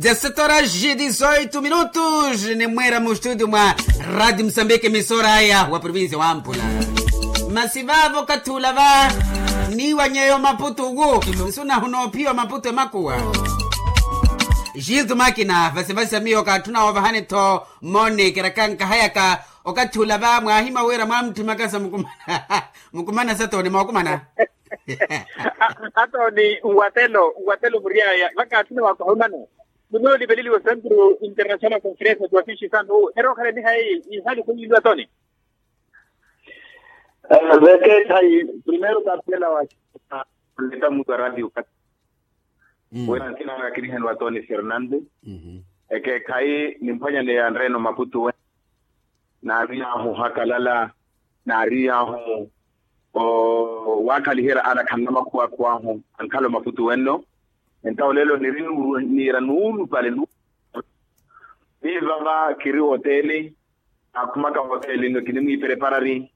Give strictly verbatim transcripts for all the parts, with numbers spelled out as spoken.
Desetora ji dizoitu minutus nimwira mu studio mwa radio musambiki emisora aya wa provincia wa mpula. Masi vavo kathula va niwanyeyo maputu wu nsunahuna ophiwa maputu emakuwa. Jitu makina vasivasi amiyo kathuna ovahani tho moni kirakankaha yaka okathula va mwahima wira mwamutthimaka sa mukumana. Mukumana satoni mwakumana. Atoni nwatelo nwatelo muriaya vakaathina wakohomana. Muno olipeleliwa centro international conference tuwakishi santu erookhale nihayi ihali khunyilu atoni. Veke thayi primero kapela wa leta mutu a radio kati wena nkina kakirihenwa atoni fernando. Eke khayi nimphwanyaneya nreno maputu we naariyahu hakalala naariyahu wakhaliherya ana khanna makhuwa akhuwahu ankhala omaputu wenno. Entawo lelo niri niira nuulupale. Ni vava khiri oteli akhumaka oteli nno kinimwiipereparari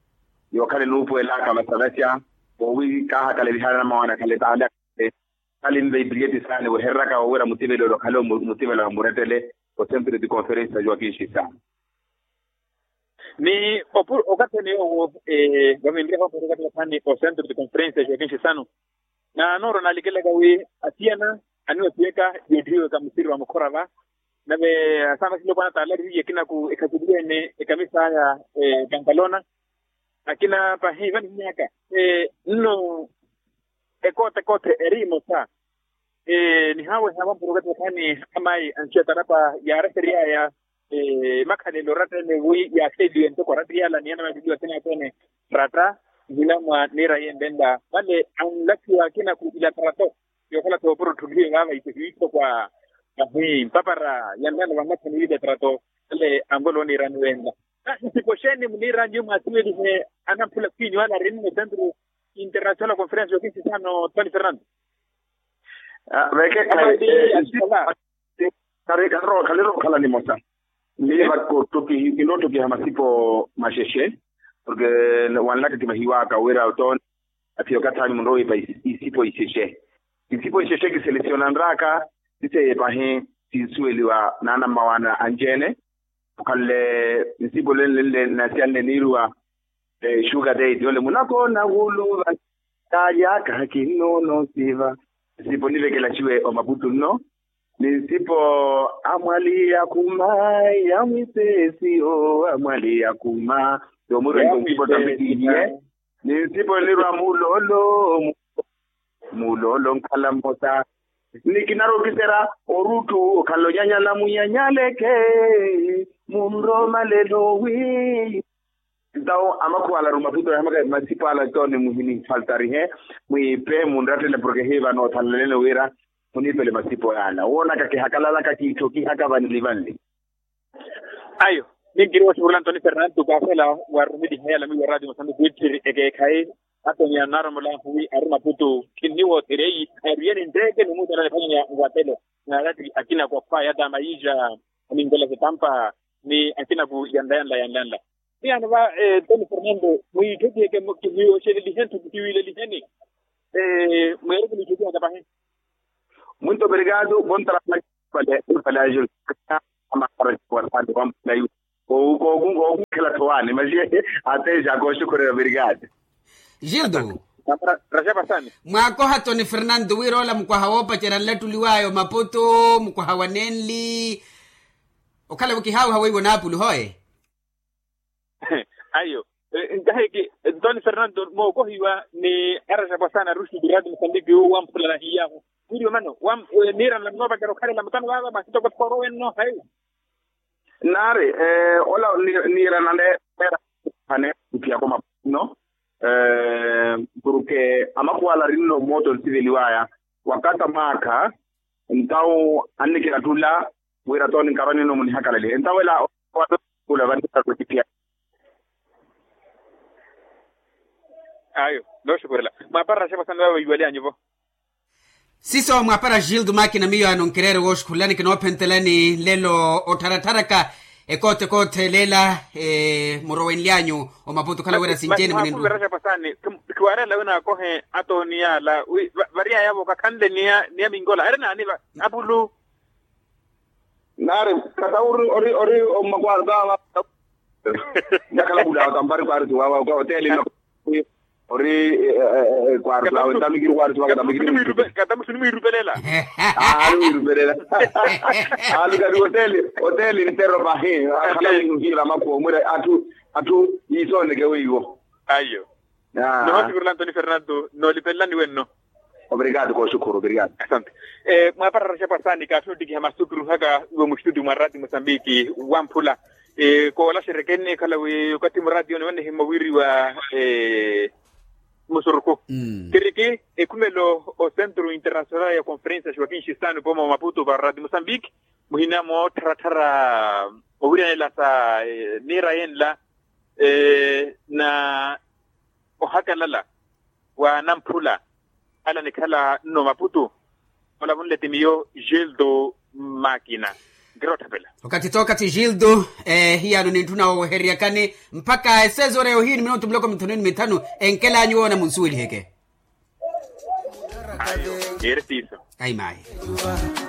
yookhala enuupuwelaka vasavasya owi kaahakalaliha anamawana khale taale. Khali nve ipiliyeti saani wehereraka wowira mutivelelo khale mutivelelo murettele o centro de conferencia joaquin xisano. Ni okathene yoowo vavinriha omuhiri okathi wathani o centro de conferencia joaquin xisano. Na nooro naalikelaka wi asiyana aniwasiyeka yootthiweka musiri wa mukhora va nave asamasile opwana taalarihiye akinaku ekhakiliwene ekamisa aya pantalona. Akina pahi vanihiyaka nno ekoote koote eri emosa. Nihaweha vampuro okathi vathani amayi anxiya tarapa yaareheryaya makhalelo oratta ene wi yaakheliwe ntoko oratta iyala ni anamaveliwa akina athene ratta. Nhinamwa niira yenvenla vale anlakhiwa akina ku ilatrato yookhala thoopuro otthulihiwe vaava isehiwitho kwa ahi mpapara yanlano vanlakhani ilatrato vale anvolowa oniirani wenla. Nsipo xeeni muniira nyuwo mwaasiwelihe anamphula khwinyu ale arinno centro international conference yokinsisano tony fernando. Veke khaliro okhala nimosa. Ni vakottokihi kinottokiha masipo maxexe. Porke wanlaka kivahiwaka wira otoni aphiya okathi anyu munrowa wiipa isipo ixexe. Isipo ixexe kiselesiyonanraka siseye pahi sinsuweliwa naana mmawaana anci-ene. Okhanle nsipo lenle nle nasiyanle niiruwa xuka teti ole munakoona wuluva talyaka kinnoono siva. Nsipo nivekela ciwe omaputu nno ni nsipo amwaliya khuma ya mwisesi o amwaliya khuma. Yomwiru nsipo tambikihiye ni nsipo nirwa mulolo mulolo nkhala mmosa. Ni kinarwa okiserya oruttu okhala onyanyala muyanyaleke munromalelo wi. Ntawo amakhuwa ala arumaputo yahamaka masipo ala toni muhinifaltarihe mwiipe munrattele porke hiiva noothalalene wira muniipele masipo yaala woonaka kihakalalaka kiitthokihaka vanli vanli. Ayo ninkiri woxukurela antoni fernando kaafela warumeliha yalamiwa radio mosambi kwitthiri ekeekhayi. Atoni anaaromola wi ari maputu khinniwoothereyi ariyeni ntteke ni muutana niphwanyanya nwatelo naarati akinaku akhwaya ta mayiixa aninkola setampa ni akinaku yanla yanla yanla yanla. Ni ano va toni fernando mwiitthokiheke mwiyoxelelihe ntthukhu kiwiileliheni. Mweereke mwiitthokihaka pahi. Muito obrigado bom trabalho. Vale vale ajo amahara wasaani wampulayu. Kookunkela thowaani masi ateja kooxukhurela obrigado. Gildo. Raxapasani. Mwaakoha toni fernando wira ola mukwaha woopacerya nlattuliwaya omaputu mukwaha wa nenli. Okhala-vo kihaawiha weiwo naapulu hoye. Ayo. Nkahiki toni fernando mookohiwa ni araxapo asaana aruxuku radio mosambiki wu wamphulana hiyaahu. Wiriwe mano niirana noopacera okhalela mutano vaava masi toko tikooro wenno hayi. Naari ola niirana neera hane kutiyako mapuno. Porke amakhuwa ala arinno mooto nsiveliwaya wakata mwaakha ntawo annikirattula wira toni nkarwa nino munihakalalihe entawo ela. Kula vannikakutipya. Ayo nooxukurela mwaapara xepo sani vava veiwalyanyu-vo. Siso mwaapara gildo makina miyo ano nkireere wooxukhulelani kinoophentelani nlelo ottharatharaka ekoote koote leela. Murowenlyanyu omaputu okhala wira sinci-ene mwaakuvira xepo sani. Khiwaarela wina akohe atooni yaala wi variyaya-vo kakhanle ni ya minkola eri naani apulu. Ari, kata ori ori ori omakwarto awa. Nyakhala kula wakampari kwarto awa ka oteli. Ori kwarto awa ntami kiri kwarto awa ntami kiri. Kata musuni mwirupelela. Ari mwirupelela. Ari kati oteli, oteli ntero pahi akhala mwiruhira makwo mwira athu athu isoneke weiwo. Ayo. Nohoosikurula antoni fernando noolipelelani wenno. Obrigado koosukhuru obrigado. Asante. Mwaparara xapwasani kaatthi oottikiha masukiruhaka iwo muxituti mwa raati mosambiki wamphula. Koolaxerya keenneekhala wi okathi muraati yone wannihimmwa wiiriwa musurukhu. Kiriki ekhumelo o centro internacional ya conferencia xwakinxisano pooma wa maputo para raati mosambiki muhina moottharatthara owiryanela sa miira yenla na ohakalala wa namphula ala nikhala nno maputu. Olavunle ti miyo gildo makina nkirotthapela. Okathi tookathi gildo hiyano nintthuna woweheryakani mpakha esezore yohiini minutu miloko mithanu ni mithanu. Enkel'anyu woona munsuweliheke. Ayo. Niire siiso. Ayi mayi.